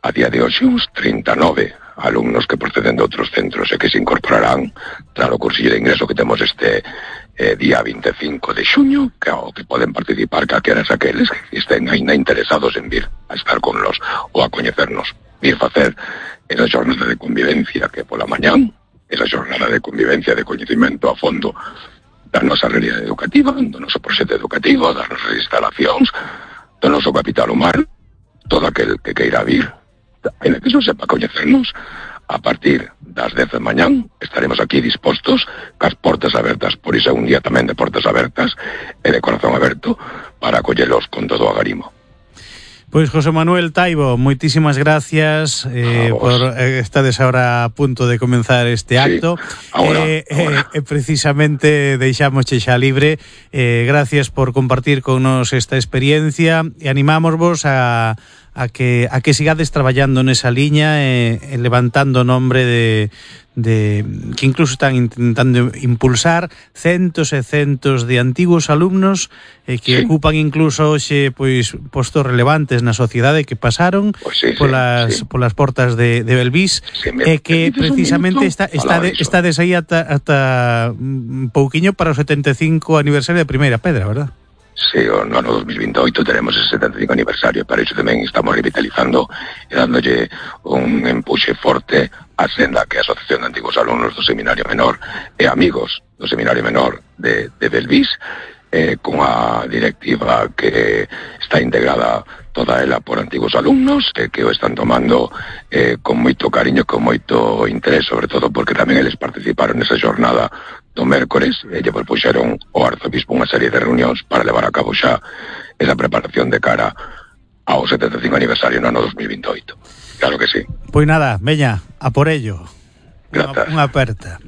a día de hoxe uns 39 alumnos que proceden de outros centros e que se incorporarán tras o cursillo de ingreso que temos este día 25 de xuño, que poden participar calqueras aqueles que estén ainda interesados en vir a estar con nos ou a coñecernos, vir facer esa xornada de convivencia que pola mañán, esa xornada de convivencia, de coñecimento a fondo da nosa realidade educativa, do noso proxecto educativo, das nosas instalacións, do noso capital humano, todo aquel que queira vir, en que non sepa coñecernos, a partir das 10 de mañán estaremos aquí dispostos, cas portas abertas, por iso é un día tamén de portas abertas e de corazón aberto, para acollelos con todo o agarimo. Pois José Manuel Taibo, moitísimas gracias por estades agora a punto de comenzar este acto. Ahora. Precisamente deixámosche xa libre. Gracias por compartir con nos esta experiencia e animámosvos a que sigades traballando nesa liña e levantando o nombre de que incluso están intentando impulsar centos e centos de antigos alumnos que ocupan incluso hoxe pois postos relevantes na sociedade que pasaron polas portas de Belvís e que precisamente estades aí ata un pouquiño para o 75 aniversario de Primeira Pedra, verdad? Sí, no ano 2028 teremos ese 75 aniversario, para iso tamén estamos revitalizando e dándolle un empuxe forte a senda que é a Asociación de Antigos Alumnos do Seminario Menor e amigos do Seminario Menor de Belvís, con a directiva que está integrada toda ela por antigos alumnos que o están tomando con moito cariño, con moito interés, sobre todo porque tamén eles participaron nesa jornada do mércores e lle propuxeron ao arzobispo unha serie de reunións para levar a cabo xa esa preparación de cara ao 75 aniversario no ano 2028. Claro que sí. Pois nada, veña, a por ello. Grazas. Unha aperta.